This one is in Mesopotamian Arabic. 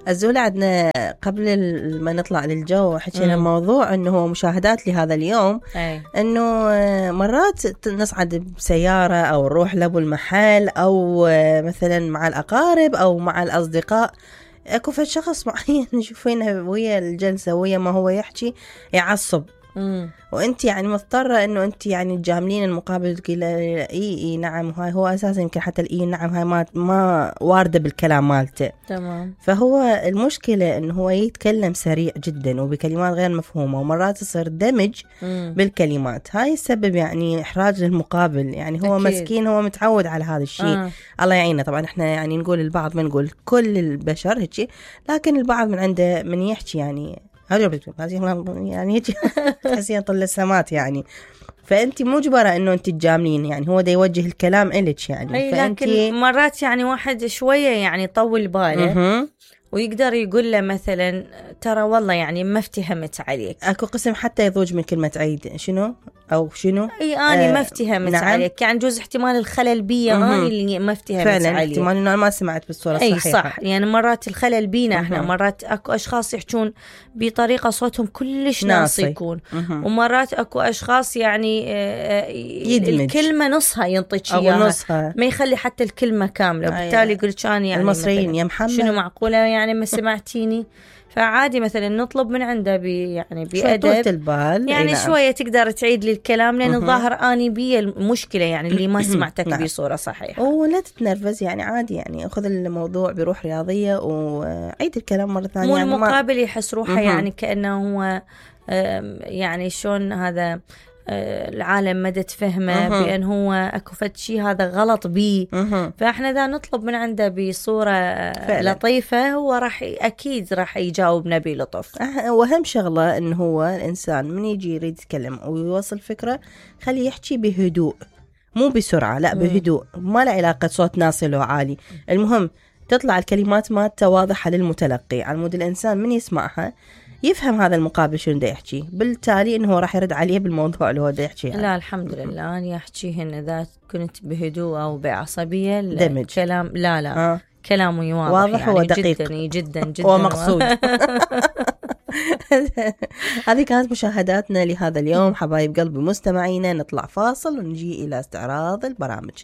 الزولة عندنا قبل ما نطلع للجو حكينا موضوع انه هو مشاهدات لهذا اليوم. انه مرات نصعد بسيارة او نروح لابو المحل او مثلا مع الاقارب او مع الاصدقاء، اكو فد شخص معين نشوفينه ويا الجلسة ويا ما هو يحكي يعصب، وانت يعني مضطرة انه انت يعني تجاملين المقابل تقول اي نعم، هاي هو اساسا يمكن حتى الاي نعم هاي ما واردة بالكلام مالته. تمام. فهو المشكلة انه هو يتكلم سريع جدا وبكلمات غير مفهومة، ومرات يصير دمج بالكلمات، هاي السبب يعني احراج للمقابل. يعني هو أكيد. مسكين هو متعود على هذا الشيء. الله يعينه. طبعا احنا يعني نقول البعض، ما نقول كل البشر هيك، لكن البعض من عنده من يحكي يعني يعني هيك تحسين طل السمات يعني. فأنت مجبرة إنه أنت تجاملين، يعني هو دا يوجه الكلام إلك يعني. لكن مرات يعني واحد شوية يعني طول باله ويقدر يقول له مثلا ترى والله يعني ما افتهمت عليك. اكو قسم حتى يضوج من كلمة عيد شنو او شنو، اي اني ما افتهمت نعم. عليك، يعني جوز احتمال الخلل بيا اني اللي ما افتهمت عليك، فعلا احتمال انه ما سمعت بالصورة الصحيحة. اي صح، يعني مرات الخلل بينا احنا، مرات اكو اشخاص يحجون بطريقة صوتهم كلش ناصي يكون، ومرات اكو اشخاص يعني يدمج الكلمة نصها ينطيك اياها، ما يخلي حتى الكلمة كاملة، وبالتالي يقول كان يعني المصريين يا محمد شنو معقولة يعني ما سمعتيني. فعادي مثلا نطلب من عنده يعني بأدب البال يعني شوية تقدر تعيد لي الكلام، لأن الظاهر أني بي المشكلة يعني اللي ما سمعتك بصورة صحيحة. ولا تتنرفز يعني عادي، يعني أخذ الموضوع بروح رياضية وعيد الكلام مرة ثانية. مو يعني المقابل يحس روحه يعني كأنه هو يعني شون هذا العالم مدى تفهمه بأن هو أكو فد شيء هذا غلط بيه. فإحنا ذا نطلب من عنده بصورة فعلا لطيفة، هو أكيد راح يجاوبنا بلطف. وأهم شغلة إنه هو الإنسان من يجي يريد يتكلم ويوصل فكرة خليه يحكي بهدوء، مو بسرعة، لا بهدوء، ما له علاقة صوت ناصل وعالي. المهم تطلع الكلمات مالته واضحة للمتلقي، على مود الإنسان من يسمعها يفهم هذا المقابل شنو دا يحكي، بالتالي انه راح يرد عليه بالموضوع اللي هو دا يحكي يعني. لا الحمد لله انا احكيهن اذا كنت بهدوء او بعصبيه دمج كلام لا كلامه واضح يعني ودقيق جدا ومقصود. هذه كانت مشاهداتنا لهذا اليوم حبايب قلبي مستمعينا. نطلع فاصل ونجي الى استعراض البرامج.